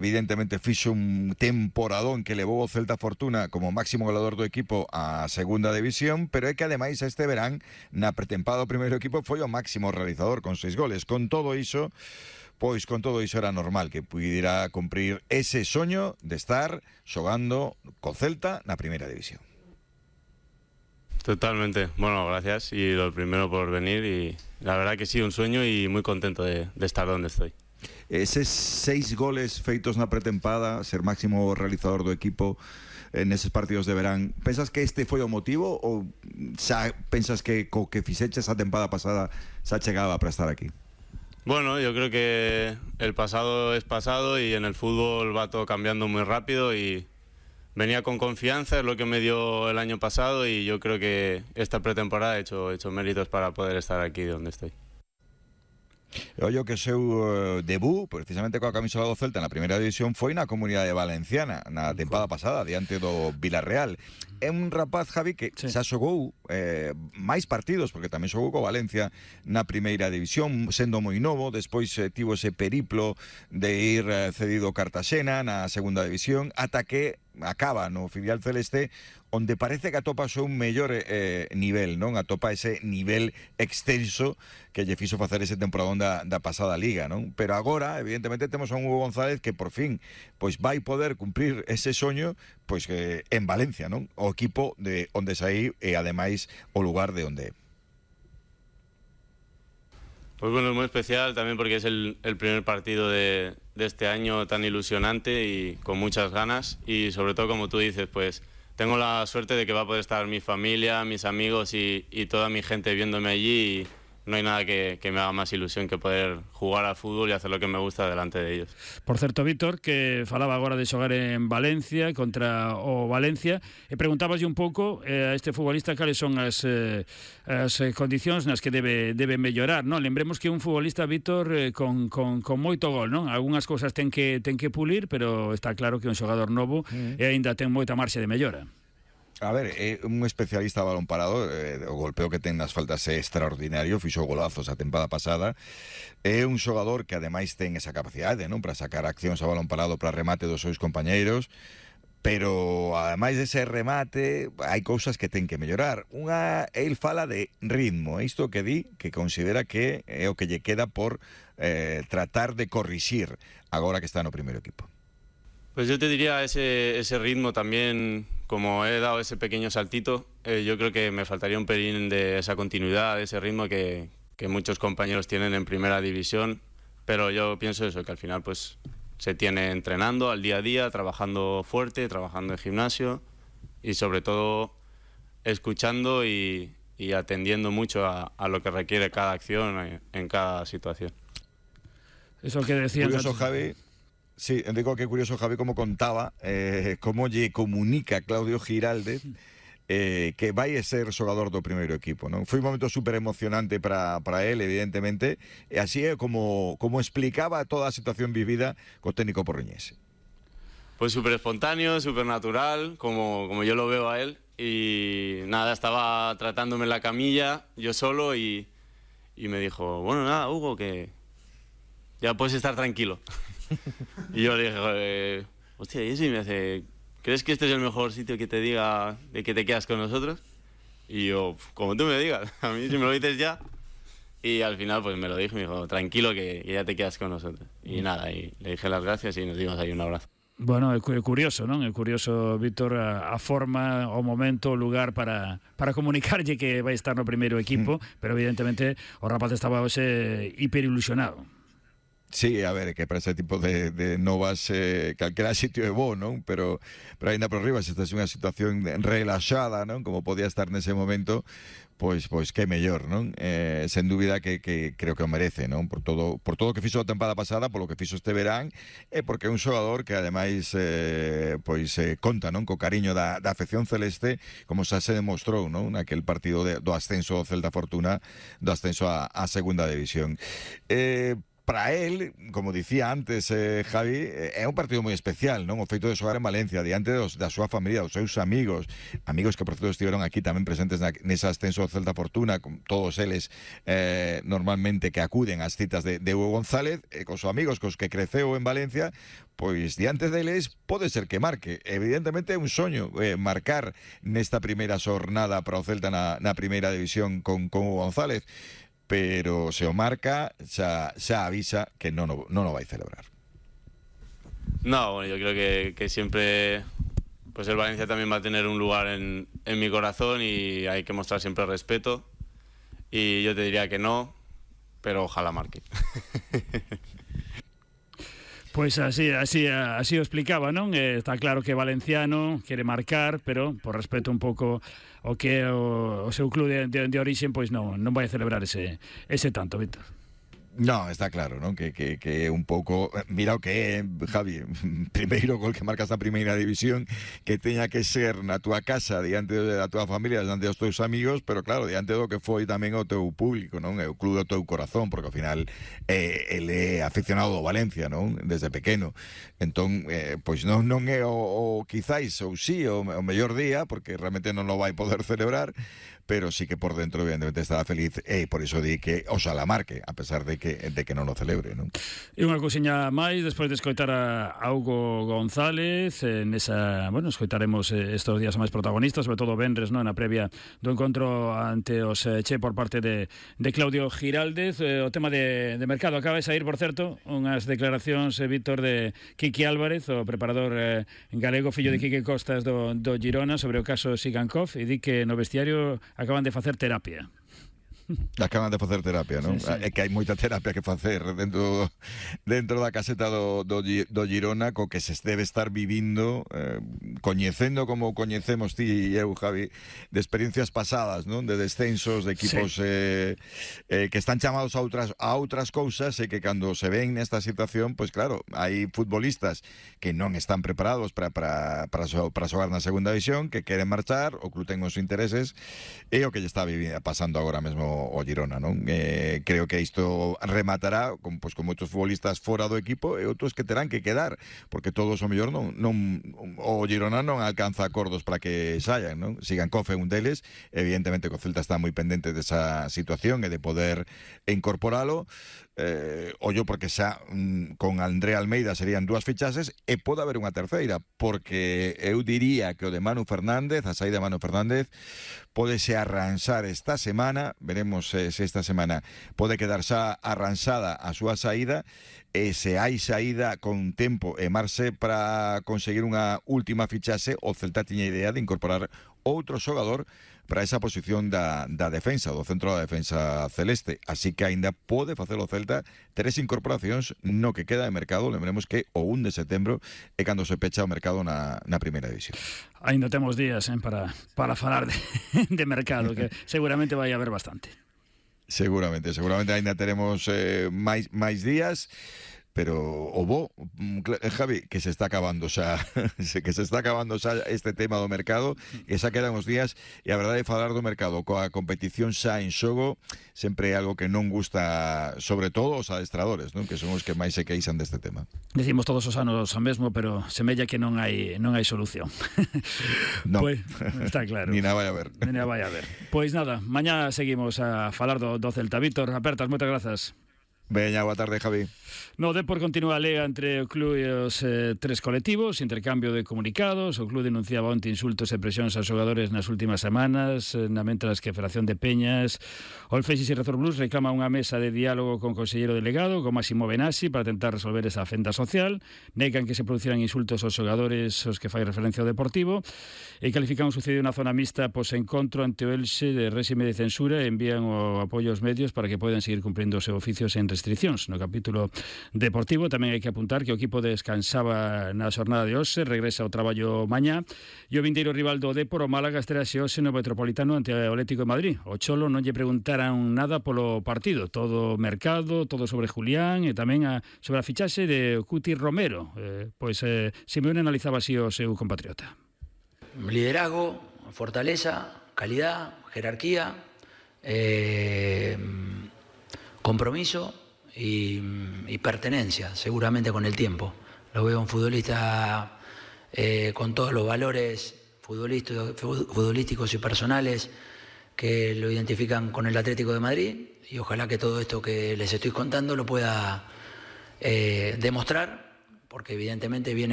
evidentemente fixo un temporadón que levou o Celta Fortuna como máximo goleador do equipo á segunda división, pero é que ademais este verán na pretempada do primeiro equipo foi o máximo realizador con 6 goles. Con todo iso era normal que pudiera cumprir ese soño de estar xogando co Celta na primeira división. Totalmente. Bueno, gracias y lo primero por venir y la verdad que sí, un sueño y muy contento de estar donde estoy. Eses 6 goles feitos na pretempada, ser máximo realizador do equipo neses partidos de verán, pensas que este foi o motivo ou xa pensas que co que fixeches a tempada pasada xa chegaba para estar aquí? Bueno, yo creo que el pasado es pasado y en el fútbol va todo cambiando muy rápido y venía con confianza, es lo que me dio el año pasado y yo creo que esta pretemporada he hecho méritos para poder estar aquí donde estoy. Ollo que o seu debut, precisamente coa camisola do Celta na primeira división, foi na Comunidade Valenciana na tempada pasada, diante do Villarreal. É un rapaz, Javi, que xa xogou máis partidos, porque tamén xogou co Valencia na primeira división, sendo moi novo, despois tivo ese periplo de ir cedido ao Cartaxena na segunda división, ata que acaba no filial celeste, onde parece que atopa o seu mellor nivel, non? Atopa ese nivel extenso que lle fixo facer ese temporadón da pasada liga, non? Pero agora, evidentemente, temos a un Hugo González que por fin pois vai poder cumprir ese soño pois en Valencia, non? O equipo de onde saí e ademais o lugar de onde é. Pues bueno, es muy especial también porque es el primer partido de este año tan ilusionante y con muchas ganas y sobre todo, como tú dices, pues tengo la suerte de que va a poder estar mi familia, mis amigos y toda mi gente viéndome allí y no hai nada que me haga máis ilusión que poder jugar al fútbol e hacer lo que me gusta delante de ellos. Por certo, Víctor, que falaba agora de xogar en Valencia contra o Valencia e preguntabaslle un pouco a este futbolista cales son as condicións nas que debe mellorar, non? Lembremos que un futbolista, Víctor, con moito gol, non? Algúnas cousas ten que pulir, pero está claro que é un xogador novo e aínda ten moita marxe de mellora. A ver, é un especialista a balón parado, o golpeo que ten nas faltas é extraordinario, fixo golazos a tempada pasada, é un xogador que ademais ten esa capacidade, non, para sacar accións a balón parado para remate dos seus compañeiros, pero ademais dese remate hai cousas que ten que mellorar. El fala de ritmo, isto que di que considera que é o que lle queda por tratar de corrixir agora que está no primeiro equipo. Pues yo te diría ese ritmo también, como he dado ese pequeño saltito, yo creo que me faltaría un pelín de esa continuidad, de ese ritmo que muchos compañeros tienen en primera división, pero yo pienso eso, que al final pues se tiene entrenando al día a día, trabajando fuerte, trabajando en gimnasio y sobre todo escuchando y atendiendo mucho a lo que requiere cada acción en cada situación. Eso que decías curioso, Javi. Sí, digo que curioso, Javi, como contaba, como lle comunica Claudio Giraldez que vai a ser xogador do primeiro equipo, non? Foi un momento super emocionante para él, evidentemente, e así é como explicaba toda a situación vivida co técnico porriñés. Pues súper espontáneo, súper natural, como yo lo veo a él, y nada, estaba tratándome en la camilla, yo solo, y me dijo, bueno, nada, Hugo, que ya puedes estar tranquilo. Y yo le dije, hostia, y eso, y me hace, ¿crees que este es el mejor sitio que te diga de que te quedas con nosotros? Y yo, como tú me digas, a mí si me lo dices ya. Y al final pues me lo dijo, me dijo, tranquilo que ya te quedas con nosotros. Y nada, y le dije las gracias y nos dimos ahí un abrazo. Bueno, é curioso, non? É curioso, Víctor, a forma, o momento, o lugar para comunicarlle que vai estar no primeiro equipo, pero evidentemente o rapaz estaba hoxe hiperilusionado. Sí, a ver, que para ese tipo de novas calquera sitio é bo, non? Pero ainda por riba, se estás en unha situación relaxada, non? Como podía estar nese momento, pois que mellor, non? Sen dúbida que creo que o merece, non? Por todo o que fixo a tempada pasada, polo que fixo este verán, e porque é un xogador que ademais conta, non? Co cariño da afección celeste, como xa se demostrou, non? Naquel partido do ascenso ao Celta Fortuna, do ascenso á segunda división. para él, como dicía antes Javi, é un partido moi especial, non? O feito de xogar en Valencia diante da súa familia, dos seus amigos que por certo estiveron aquí tamén presentes nesa ascenso do Celta Fortuna, con todos eles normalmente que acuden ás citas de Hugo González, cos amigos cos que creceu en Valencia, pois diante deles pode ser que marque. Evidentemente é un soño marcar nesta primeira xornada para o Celta na primeira división con Hugo González, pero se o marca xa avisa que non o vai celebrar. No, bueno, yo creo que siempre pues el Valencia también va a tener un lugar en mi corazón y hay que mostrar siempre respeto, y yo te diría que no, pero ojalá marque. Pois así o explicaba, non? Está claro que Valenciano quere marcar, pero por respeto un pouco o que o seu club de origen, pois non vai celebrar ese tanto, Víctor. No, está claro, ¿no? Que un pouco, mira o que é, Javi, primeiro gol que marcas na primeira división, que teña que ser na túa casa, diante da túa familia, diante dos teus amigos, pero claro, diante do que foi tamén o teu público, non? É o club do teu corazón, porque ao final ele é aficionado do Valencia, non? Desde pequeno. Entón, pois non é o quizáis, ou sí, o mellor día, porque realmente non o vai poder celebrar, pero sí que por dentro evidentemente estaba feliz, e por iso di que oxalá marque, a pesar de que non o celebre, non? E unha cousiña máis, despois de escoitar a Hugo González, escoitaremos estes días máis protagonistas, sobre todo venres, non, na previa do encontro ante os Che por parte de Claudio Giraldez. O tema de mercado acaba de sair, por certo, unhas declaracións, Víctor, de Quique Álvarez, o preparador galego, fillo de Quique Costas do Girona, sobre o caso Sigankov, e di que no vestiario acaban de facer terapia. Acaban de facer terapia, non? Sí. É que hai moita terapia que facer dentro da caseta do Girona, co que se debe estar vivindo, coñecendo como coñecemos ti e eu, Javi, de experiencias pasadas, non? De descensos, de equipos que están chamados a outras cousas, e que cando se ven nesta situación, pois claro, hai futbolistas que non están preparados para xogar na segunda división, que queren marchar, o club ten os intereses, e o que lle está pasando agora mesmo o Girona, non? Creo que isto rematará con moitos futbolistas fora do equipo e outros que terán que quedar, porque todos o mellor o Girona non alcanza acordos para que saian, non? Sigankov é un deles, evidentemente que o Celta está moi pendente desa situación e de poder incorporalo, ollo porque xa con André Almeida serían 2 fichases, e pode haber unha terceira, porque eu diría que o de Manu Fernández, a saída de Manu Fernández, pódese arranxar esta semana, veremos se esta semana pode quedar xa arranxada a súa saída, e se hai saída con tempo e marxe para conseguir unha última fichase, o Celta tiña idea de incorporar outro xogador para esa posición da defensa, do centro da defensa celeste, así que aínda pode facer o Celta 3 incorporacións no que queda de mercado. Lembremos que o 1 de setembro é cando se pecha o mercado na primeira división. Ainda temos días para falar de mercado, que seguramente vai haber bastante. Seguramente aínda teremos máis días, pero o Javi, que se está acabando xa este tema do mercado, que xa quedan os días, e a verdade é falar do mercado coa competición xa en xogo sempre é algo que non gusta, sobre todo os adestradores, non? Que son os que máis se queixan deste tema. Decimos todos os anos o mesmo, pero semella que non hai solución. No. Pois, está claro. Ni nada vai a ver. Pois nada, mañá seguimos a falar do Celta. Víctor, apertas, moitas grazas. Veña, boa tarde, Javi. No Depor continúa a lega entre o club e os 3 colectivos, intercambio de comunicados. O club denunciaba onte insultos e presións aos xogadores nas últimas semanas, na mentras que a Federación de Peñas, o Olfexis e Razor Blues reclama unha mesa de diálogo con o conselleiro delegado, con Máximo Benassi, para tentar resolver esa fenda social. Negan que se produciran insultos aos xogadores aos que fai referencia ao Deportivo, e califican o sucedido na zona mixta pos encontro ante o Elxe de réxime de censura, e envían o apoio aos medios para que podan seguir cumprindo o seu oficio sen restriccións. No capítulo deportivo tamén hai que apuntar que o equipo descansaba na xornada de hoxe, regresa ao traballo mañá, e o vindeiro rival do Depor, o Málaga, estrelase hoxe no Metropolitano ante o Atlético de Madrid. O Cholo non lle preguntaran nada polo partido, todo mercado, todo sobre Julián, e tamén sobre a fichaxe de Cuti Romero. Simeone analizaba así o seu compatriota. Liderazgo, fortaleza, calidad, jerarquía, compromiso, y pertenencia, seguramente con el tiempo. Lo veo un futbolista con todos los valores futbolísticos y personales que lo identifican con el Atlético de Madrid, y ojalá que todo esto que les estoy contando lo pueda demostrar, porque evidentemente viene